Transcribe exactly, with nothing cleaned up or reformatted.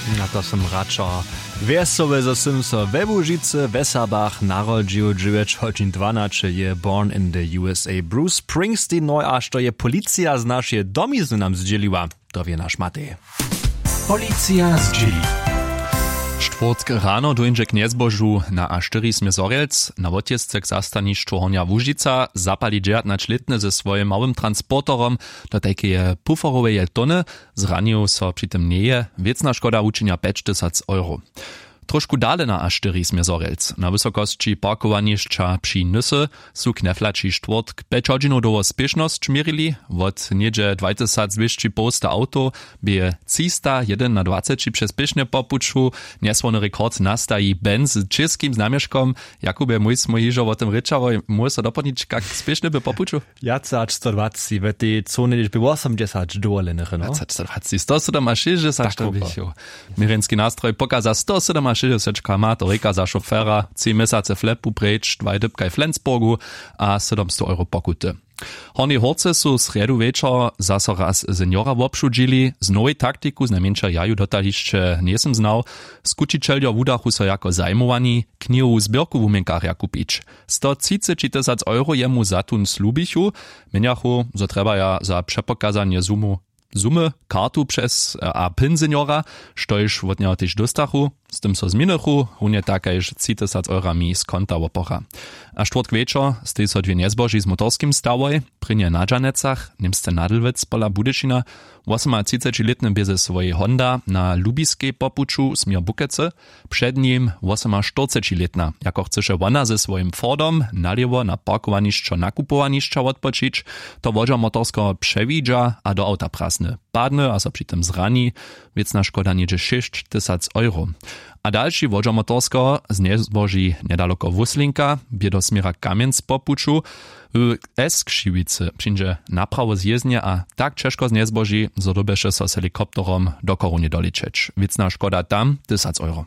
A to sym radšo wjesoły, zo sym so we Łužicy we Serbach narodźił. Dźewjeć hodźin dwanaće je Born in the U S A Bruce Springsteen. No a što je policija z našeje domizny nam zdźěliła, to wě naš Matej. Policija zdźěli. Štwórtk rano dóńdźe k njezbožu na A štyri směr Zhorjelc. Na wotjězce k zastanišću Hornja Łužica zapali dźewjatnaćlětny ze swojim małym transporterom do tajkeje puforoweje tony. Zranił so při tym njeje. Wěcna škoda wučinja pjećtysac euro. Trošku dale na A štyri směr Zhorjelc na wysokosći parkowanišća při Nysy su kneflaći štwórtk pjeć hodźinow dołho spěšnosć měrili. Wot něhdźe dwajtysacdwěsći połsta awtow bě třista jedynadwaceći přez pěšnje po puću. Njesłowny rekord nastaji Benz z čěskim znamješkom. Jakubje, mój smój hižo wo tym rěčałoj, móhł so dopolnić, kak spěšny by po puću? Wjace hač sto dwaceći, w tej cone hdźež by wosomdźesać dowoljenych, no. Wjace hač sto dwaceći, sto sydomašěsćdźesat. Měrjenski nastroj pokaza sto sydomašěsćdźesat km, to rěka za šofera tři měsace flepu preč dwaj dypkaj w Flensburgu a sydomstow euro pokuty. Hornjej Hórce su srjedu wječor zaso raz seniora wobšudźili z nowej taktiku, znajmjeńša ja ju dotal hišće njejsym znał. Skućićeljo wudachu so jako zajimowani knihowu zběrku wuměnkarja kupić. Sto třiceći tysac euro jemu za tón slubichu. Měnjachu, zo trjebaja za přepokazanje sumu sumy kartu přez a pin seniora, štož wot njeho tež dóstachu. Z tym so změnychu runje tak kaž tři tysac eurami z konta wopora. A štwórtk wječor steji so dwě njezboži z motorskim stawoj. Prěnje na dźanecach, němsce nadlwec pola budyšina. Wosomatřicećilětny bě ze swojej honda na lubiskej po puću směr bukecy. Před nim wosomaštyrcećilětna, jako chcyše wona ze swojim fordom nalěwo na parkowanišćo nakupowanišća wotpočić. To wodźer motorskeho přewidźa a do awta prasny, padny a so při tym zrani. Wěcna škoda něhdźe šěsć tysac euro. A dalši wodźer motorskeho z njezboži njedaloko wuslinka bě do směra kamjenc po puću w s křiwicy přińdźe naprawo zjěznje a tak ćežko z njezboži, zo dyrbješe so z helikopterom do chorownje dolěćeć. Wěcna škoda tam tysac euro.